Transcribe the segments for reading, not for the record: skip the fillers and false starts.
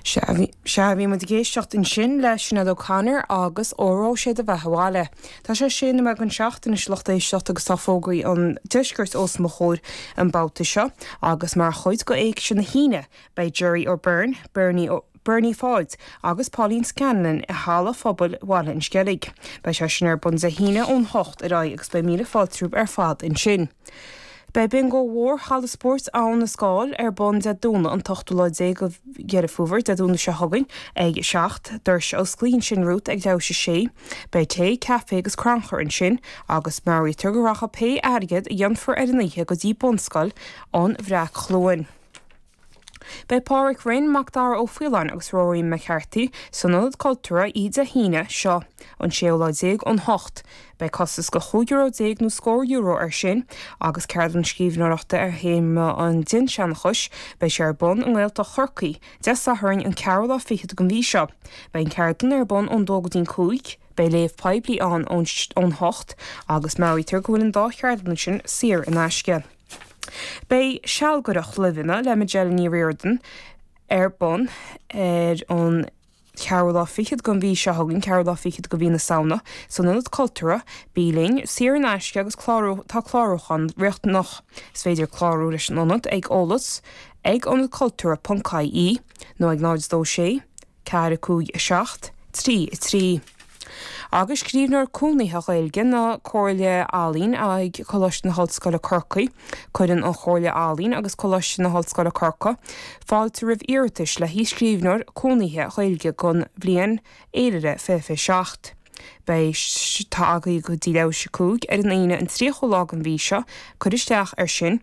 Sea, bhí muid ag éisteacht ansin le Sinéad O'Connor agus Óró Sé do Bheatha Abhaile. Tá sé sé nóiméad don seacht anois a lucht éisteachta agus tá fógraí an deiscirt os mo chomhair an babhta seo agus mar chuid de Éigse na hAoine beidh Gerry O'Beirne, Bernie Bernie Pháid agus Pauline Scanlon i Halla Phobail Bhaile an Sceilg. Beidh sé sin ar bun Dé hAoine ón hocht ar aghaidh agus beidh míle fáilte romhaibh ar fad ansin. Beidh Bingo Mhór Halla Spóirt Abhainn na Scáil ar bun Dé Domhnaigh an t-ochtú lá déag de Dheireadh Fómhair, Dé Domhnaigh seo chugainn, ag 7. Doirse a osclaíonn ansin romhat ag leathuair théis a sé. Beidh tae, caife agus crannchur ansin agus meabhraítear go rachaidh pé airgead a dhéanfar ar an oíche go dtí Bunscoil an Bhreac-Chluain. Beidh Pádraic Rynne, Macdara Ó Faoláin agus Rory McCarthy san Ionad Cultúrtha oíche Dé hAoine seo, an séú lá déag, ón hocht. Beidh costas de chúig euro déag nó scór euro air sin agus ceardlann scríbhneoireachta ar théama an dinnseanchais, beidh sé ar bun i nGaeltacht Chorcaí, Dé Sathairn an ceathrú lá fichead den mhí seo. Beidh an ceardlann ar bun ón dó go dtí'n cúig. Beidh léamh poiblí ann ón hocht agus meabhraítear go bhfuil an dá cheardlann sin saor in aisce. Beidh sealgaireacht luibheanna le Majella Ní Riordain ar bun ar an cheathrú lá fichead den mhí seo chugainn, ceathrú lá fichead de mhí na Samhna, san Ionad Cultúrtha. Bí linn, saor in aisce agus clárú, tá clárúchán riachtanach. Is féidir clárú leis an Ionad ag eolas ag ionadcultúrtha ponc ie nó ag 0 2 6 4 5 7 3 3. Agus scríbhneoir cónaithe Gaeilge na Comhairle Ealaíon ag Coláiste na hOllscoile Corcaigh, Cuireann an Chomhairle Ealaíon agus Coláiste na hOllscoile Corcaigh fáilte roimh iarratais le haghaidh scríbhneoir cónaithe Gaeilge don bhliain fhéilire 2027. Beidh tá agaibh go dtí leathuair théis a cúig ar an Aoine an 30ú lá den mhí seo cur isteach air sin.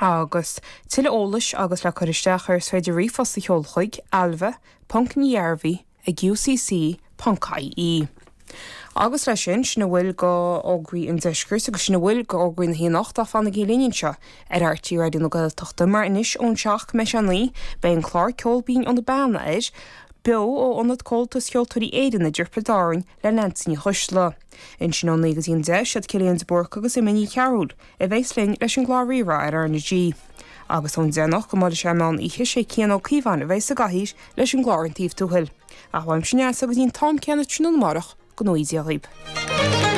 Agus tuilleadh eolais agus le cur isteach air is féidir ríomhphost a sheoladh chuig ailbhe ponc ní ghearbhuigh ag ucc ponc ie. Agus leis sin, sin a bhfuil de fhógraí an deiscirt agus sin a bhfuil de fhógraí na hAoine anocht fanaigí linn anseo ar RTÉ Raidió na Gaeltachta mar anois ón seacht go mbeidh sé a naoi beidh an clár Ceol Binn ó na Beanna air beo ó Ionad Comhaltas Cheoltóirí Éireann i dTrioblóid Árainn le Neansaí Ní Choisdealbha. Ansin ó naoi go dtí an deich, siad Cillian de Búrca agus Emma Ní Chearúil a bheas linn leis an gclár Rí-Rá ar R na G. Agus ón deich anocht go mbuailfidh sé an meán oíche, sé Cian Ó Cíobháin a bheas sa gcathaoir leis an gclár An Taobh Tuathail. Ach uaimse Neasa go dtí an t-am céanna tráthnóna amárach, go ngnóthaí Dia dhaoib.